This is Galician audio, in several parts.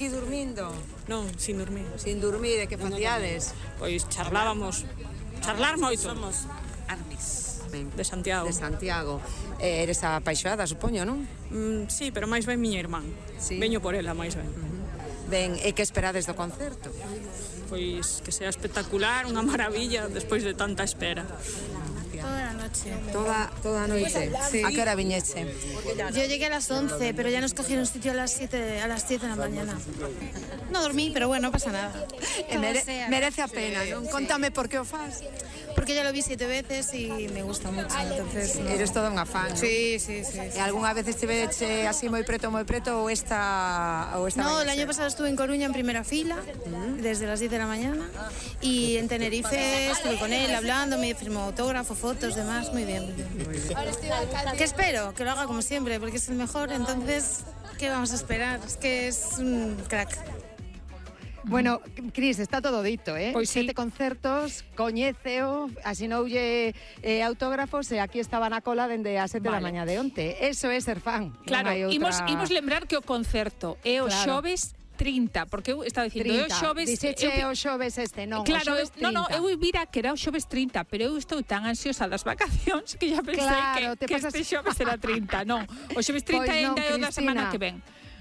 E dormindo? Non, sin dormir. Sin dormir, e que facíades? Pois charlar moito. Somos Armis. De Santiago. De Santiago. Eres apaixoada, supoño, non? Sí, pero máis ben miña irmán. Sí. Veño por ela, máis ben. Ben, e que esperades do concerto? Pois que sea espectacular, unha maravilla, despois de tanta espera. Toda la noche. Toda a noite. Sí. A que hora viñeche? Yo llegué a las 11, pero ya nos cogieron sitio a las 10 de la mañana. No dormí, pero bueno, no pasa nada. Merece a pena, non? Contame por que o fas. Porque ya lo vi 7 veces y me gusta mucho, entonces... No. Eres toda unha fan, non? Sí. E algunha vez estiveche así moi preto ou esta No, el año pasado estuve en Coruña en primera fila, desde las 10 de la mañana, y en Tenerife estuve con él hablando, me firmó autógrafo, fotos, demás, muy bien. ¿Qué espero? Que lo haga como siempre, porque es el mejor, entonces, ¿qué vamos a esperar? Es que es un crack. Bueno, Cris, está todo dito, Pois sí. 7 concertos, coñéceo, asinoulle autógrafos e aquí estaba na cola dende as 7 da mañá de onte. Eso é ser fan. Claro, non hai outra... imos lembrar que o concerto é o xoves 30, porque eu estaba dicindo, é o xoves... Dixeche o xoves este, non, claro, o xoves 30. eu vira que era o xoves 30, pero eu estou tan ansiosa das vacacións que ya pensei Claro, que este xoves era 30, non. O xoves 30 Pois non, ainda é o da semana Cristina. que ven.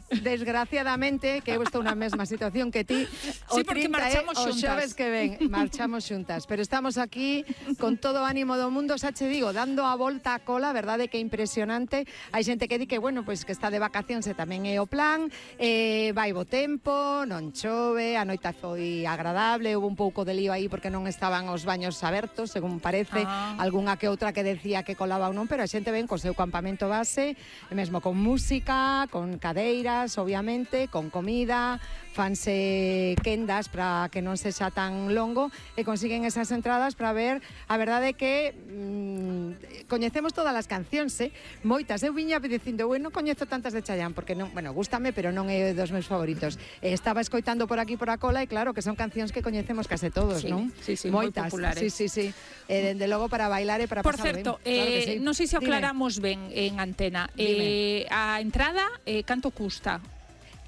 Desgraciadamente, que eu estou na mesma situación que ti, Sí, porque marchamos o xuntas. xoves que ven, marchamos xuntas, pero estamos aquí con todo o ánimo do mundo, xa che digo, dando a volta a cola, verdade que é impresionante. Hai xente que di que, bueno, pois que está de vacacións e tamén é o plan, vai bo tempo, non chove, a noite foi agradable, houve un pouco de lío aí porque non estaban os baños abertos, según parece, algunha que outra que decía que colaba ou non, pero a xente ven co seu campamento base, e mesmo con música, con cadeiras, obviamente, con comida, fanse quendas para que non sexa tan longo e consiguen esas entradas para ver. A verdade é que coñecemos todas as cancións, moitas. Eu viña dicindo, non coñezo tantas de Chayanne porque non, bueno, gústame, pero non é dos meus favoritos. Estaba escoitando por aquí por a cola e claro que son cancións que coñecemos case todos, non? Sí, moitas, moi populares. Sí. Dende logo para bailar e para Por pasar certo, ben. Claro que sí. non sei se o aclaramos ben en antena. A entrada, canto custa?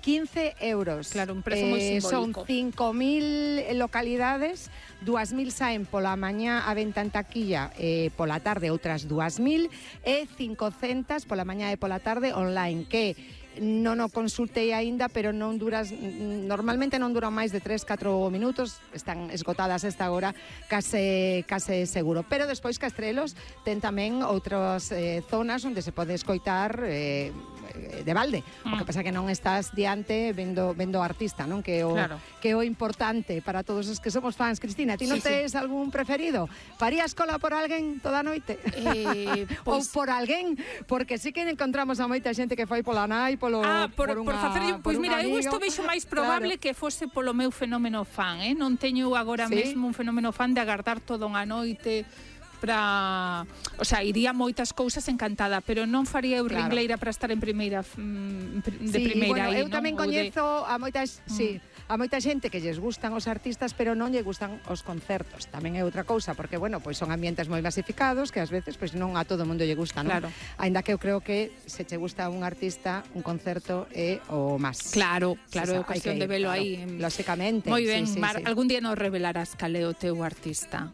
15 euros. Claro, un prezo moi Son simbólico. 5.000 localidades, 2.000 saen pola mañá a venta en taquilla, pola tarde outras 2.000 e 500 pola mañá e pola tarde online, que non o consultei aínda, pero non duras, normalmente non duran máis de 3-4 minutos, están esgotadas esta hora, case seguro. Pero despois Castrelos ten tamén outras zonas onde se pode escoitar de balde. O que pasa que non estás diante vendo o artista, non? Que é o importante para todos os que somos fans. Cristina, ti non tes algún preferido? Farías cola por alguén toda a noite? Ou por alguén? Porque sí que encontramos a moita xente que foi pola nai, por facer, pois mira, eu isto vexo máis probable que fose polo meu fenómeno fan, non teño agora mesmo un fenómeno fan de agardar toda unha noite para, o sea, iría moitas cousas encantada, pero non faría eu ringleira para estar en primeira primeira aí, eu tamén coñezo a moitas, a moita xente que lles gustan os artistas, pero non lle gustan os concertos. Tamén é outra cousa, porque bueno, pois son ambientes moi masificados que ás veces pois non a todo mundo lle gusta, non? Claro. Aínda que eu creo que se che gusta un artista, un concerto é o máis. Claro, é cuestión de velo aí. Lóxicamente. Moi ben, Mar, algún día nos revelarás cal é o teu artista.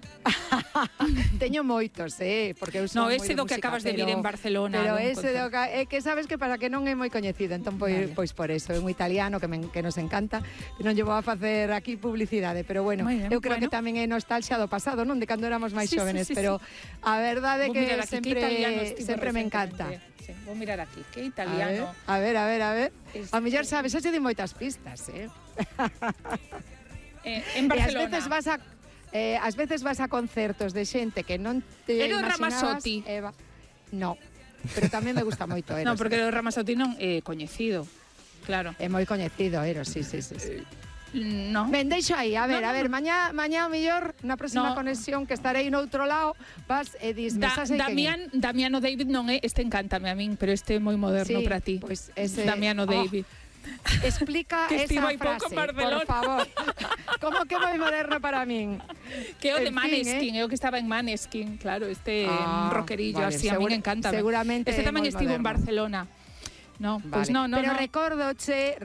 Teño moitos, porque eu son moi ese do que acabas de vir en Barcelona. Pero ese do que, que sabes que para que non é moi coñecido, entón pois por eso, é un italiano que nos encanta, que non llevo a facer aquí publicidade, pero bueno, eu creo que tamén é nostalgia do pasado, non? De cando éramos máis xóvenes, pero a verdade é que sempre me encanta. Vou mirar aquí, que italiano. A ver. A mellor sabes, xa che di moitas pistas, En Barcelona. E ás veces vas a concertos de xente que non te imaginabas. Ramazzotti. No, pero tamén me gusta moito Eros. Non, porque o Ramazzotti non é coñecido. Claro. É moi coñecido Eros, sí. No. Ben, deixo aí, a ver, mañá o mellor na próxima conexión que estarei noutro lado, vas e dis, Damiano David non é, este encántame a min, pero este é moi moderno para ti. Pois ese Damiano David. Explica que esa frase, por favor. Como que moi moderno para min? Que o de Maneskin, o que estaba en Maneskin, claro, este rockerillo, así a min encanta. Seguramente este tamén estivo en Barcelona. No, pois no. Pero recórdoche